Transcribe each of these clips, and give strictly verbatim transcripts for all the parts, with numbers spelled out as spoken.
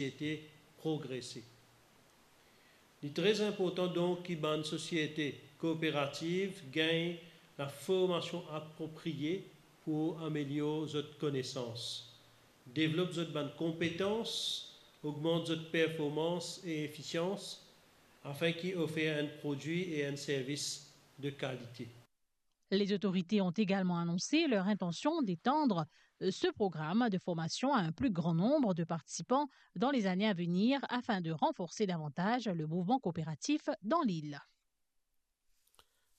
sosiete progrese. Li tre inportan donk ki bann sosiete kooperativ gagn laformasion apropriye pou amelior zot konesans, devlop zot bann konpetans, ogmant zot performans e efisians, afin ki ofer enn prodwi e enn servis de kalite. Les autorités ont également annoncé leur intention d'étendre, euh, ce programme de formation à un plus grand nombre de participants dans les années à venir afin de renforcer davantage le mouvement coopératif dans l'île.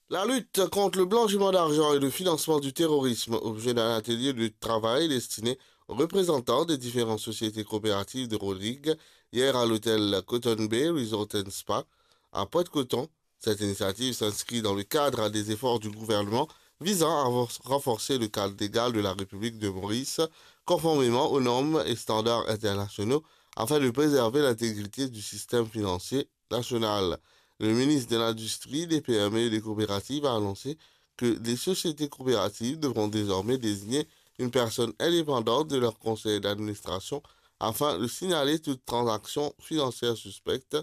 La lutte contre le blanchiment d'argent et le financement du terrorisme, objet d'un atelier de travail destiné aux représentants des différentes sociétés coopératives de Rodrigues, hier à l'hôtel Cotton Bay Resort and Spa à Pointe-Coton. Cette initiative s'inscrit dans le cadre des efforts du gouvernement visant à renfor-, renforcer le cadre légal de la République de Maurice, conformément aux normes et standards internationaux, afin de préserver l'intégrité du système financier national. Le ministre de l'Industrie, des P M E et des Coopératives a annoncé que les sociétés coopératives devront désormais désigner une personne indépendante de leur conseil d'administration afin de signaler toute transaction financière suspecte.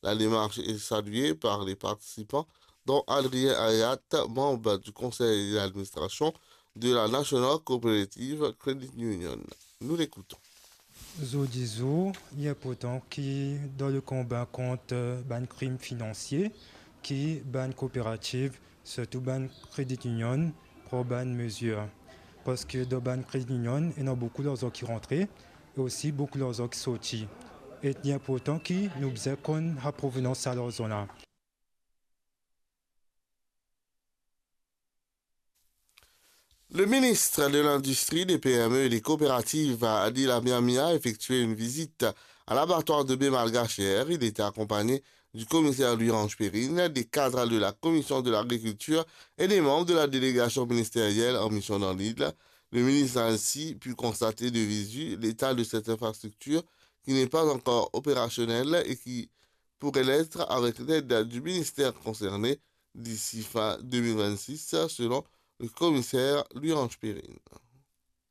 La démarche est saluée par les participants, dont Adrien Hayat, membre du conseil d'administration de la National Cooperative Credit Union. Nous l'écoutons. Zordi zour, li inportan ki dan le konba kont, euh, bann krim finansie, ki bann kooperativ, sirtou bann credit union, pran bann mezir. Parski dan bann credit union, ena boukou larzan ki rantre e osi boukou larzan ki sorti. E li inportan ki nou bizin konn sa provenans sa larzan la. Le ministre de l'Industrie, des P M E et des Coopératives, Adil Amir Mia, a effectué une visite à l'abattoir de bœuf malgache hier. Il était accompagné du commissaire Louis-Ange Perrine, des cadres de la commission de l'agriculture et des membres de la délégation ministérielle en mission dans l'île. Le ministre a ainsi pu constater de visu l'état de cette infrastructure qui n'est pas encore opérationnelle et qui pourrait l'être avec l'aide du ministère concerné d'ici fin deux mille vingt-six, selon le commissaire Louis-Ange Perrine.